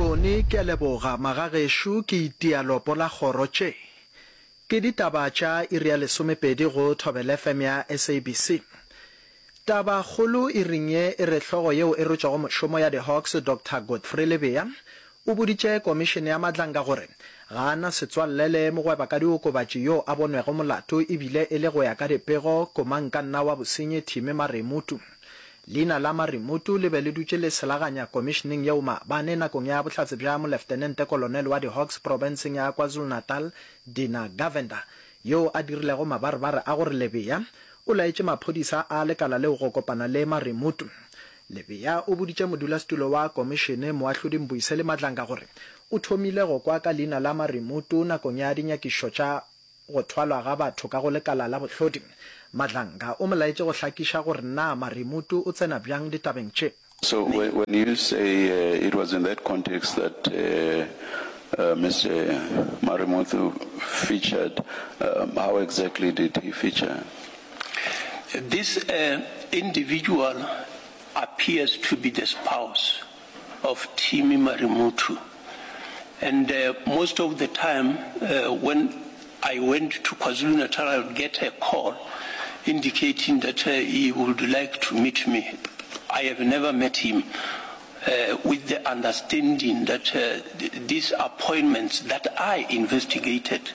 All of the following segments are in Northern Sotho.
Tony, Ke a leboga, magagešo, ke itia lopo la kgoro. Tše ke ditaba tša iri ya lesomepedi go Thobela FM ya SABC. Taba kgolo iring ye e re hlogo yeo e rotšego mošomo ya di-Hawks Doctor Godfrey Lebeya o boditše komišene ya Madlanga gore ga a na setswalle le mogwebakadiokobatši yo a bonwego molato ebile e le go ya ka dipego komangkanna wa bosenyi Timmy Maremutu. Leina la Maremutu le be le dutše le selaganya komišeneng yeo maabane nakong ya bohlatse bja Moleftenente Kolonel wa di-Hawks profenseng ya KwaZulu-Natal Dina Govender yoo a dirilego mabarebare a gore Lebeya o laetše maphodisa a lekala leo go kopana le Maremutu. Lebeya o boditše modulasetulo wa komišene Moahlodi Mbuyiseli Madlanga gore o thomile go kwa ka leina la Maremutu nakong ya dinyakišišo tša go thwalwa ga batho ka go lekala la bohlodi. Madlanga o mo laetše go hlakiša gore na Maremutu o tsena bjang ditabeng tše. So when you say it was in that context that Mister Marimuthu featured, how exactly did he feature? This individual appears to be the spouse of Timmy Marimuthu and most of the time when I went to KwaZulu-Natal I would get a call indicating that he would like to meet me. I have never met him with the understanding that these appointments that I investigated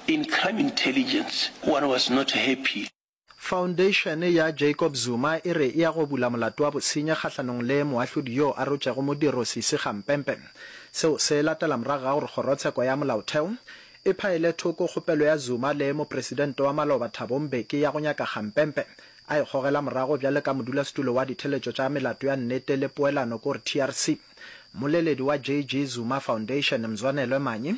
in crime intelligence, one was not happy. Foundation ya Jacob Zuma e re e ya go bula molato wa bosenyi kgahlanong le moahlodi yo a rotšego modiro Sisi Kgampempe. Seo se latela morago ga gore kgorotsheko ya molaotheo e phaele thoko kgopelo ya Zuma le mopresidente wa maloba Thabo Mbeki ya go nyaka Kgampempe a e gogela morago bjale ka modulasetulo wa ditheletšo tša melato ya nnete le poelano kore TRC. Mmoleledi wa JG Zuma Foundation Mzwanelwe Manyi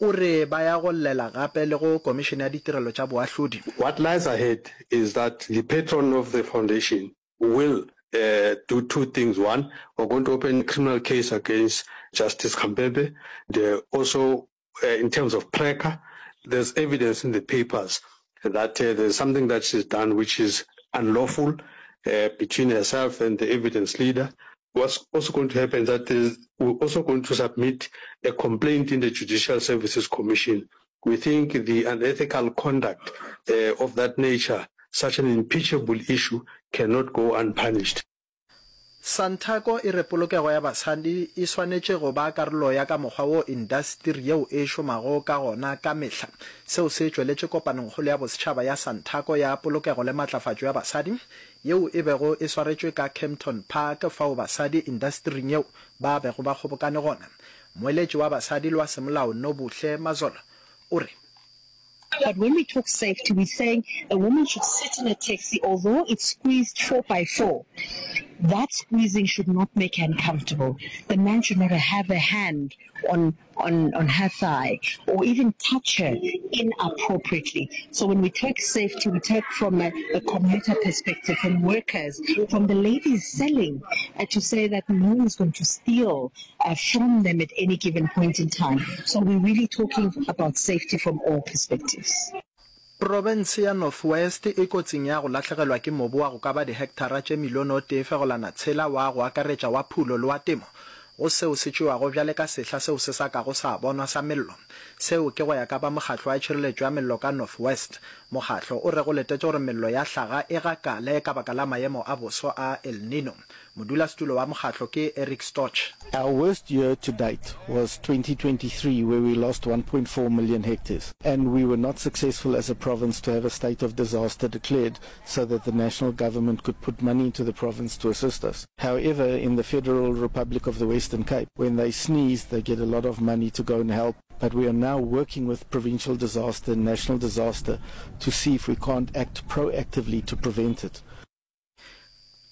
o re ba ya go llela gape le go Komišene ya Ditirelo tša Boahlodi. What lies ahead is that the patron of the foundation will do two things, one, we're going to open a criminal case against Justice Khampepe, and also in terms of Preca, there's evidence in the papers that there's something that she's done which is unlawful between herself and the evidence leader. What's also going to happen is that we're also going to submit a complaint in the Judicial Services Commission. We think the unethical conduct of that nature, such an impeachable issue, cannot go unpunished. Santaco e re polokego ya basadi e swanetše go ba karolo ya ka mokgwa wo indasteri yeo e šomago ka gona ka mehla. Seo se tšweletše kopanongkgolo ya bosetšhaba ya Santaco ya Polokego le Matlafatšo ya Basadi yeo e bego e swaretšwe ka Kempton Park fao basadi indastering yeo ba bego ba kgobokane gona. Moeletši wa basadi le wa semolao Nobuhle Mazola o re, But when we talk safety, we're saying a woman should sit in a taxi, although it's squeezed four by four, that squeezing should not make her uncomfortable. The man should not have a hand on, on, on her thigh or even touch her inappropriately. So when we talk safety, we talk from a, a commuter perspective, from workers, from the ladies selling, uh, to say that no one's going to steal uh, from them at any given point in time. So we're really talking about safety from all perspectives. Profense ya North West e kotsing ya go lahlegelwa ke mobu wa go ka ba dihektara tše milione o tee fegolana tshela wa go akaretša wa phulo le wa temo go seo se tšewago bjale ka sehla seo se sa kago sa bonwa sa mello. Seo ke go ya ka ba Mokgahlo wa Tšhireletšo ya Mello ka North West. Mokgahlo o re go letetše gore mello ya hlaga e gakale ka baka la maemo a boso a El Nino. Modulasetulo wa mokgahlo ke Eric Storch. Our worst year to date was 2023 where we lost 1.4 million hectares and we were not successful as a province to have a state of disaster declared so that the national government could put money into the province to assist us. However, in the Federal Republic of the Western Cape, when they sneeze, they get a lot of money to go and help. But we are now working with provincial disaster and national disaster to see if we can't act proactively to prevent it.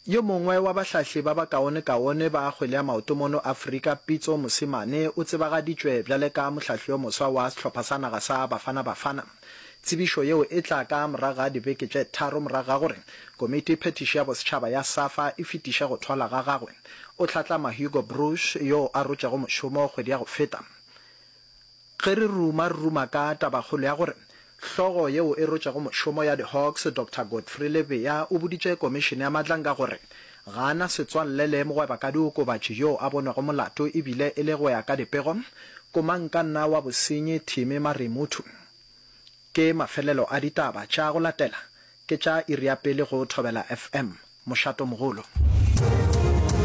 Yo mongwe wa bahlahli ba bakaonekaone ba kgwele ya maoto mono Afrika, Pitso Mosimane, o tsebagaditšwe bjale ka mohlahli yo moswa wa sehlopha sa naga sa Bafana Bafana. Tsebišo yeo e tla ka morago ga dibeke tše tharo morago ga gore Komiti Phethiši ya Bosetšhaba ya SAFA e fetiše go thwala ga gagwe. O hlatlama Hugo Broos yo a rotšego mošomo kgwedi ya go feta. Ge re ruma, re ruma ka tabakgolo ya gore hlogo yeo e rotšego mošomo ya di-Hawks, Doctor Godfrey Lebeya, o boditše komišene ya Madlanga gore Ga a na setswalle le mogwebakadiokobatši yoo a bonwego molato e bile e le go ya ka dipego, komangkanna wa bosenyi Timmy Marimuthu. Ke mafelelo a ditaba tša go latela ke tša iri ya pele go Thobela FM. Mošatomogolo.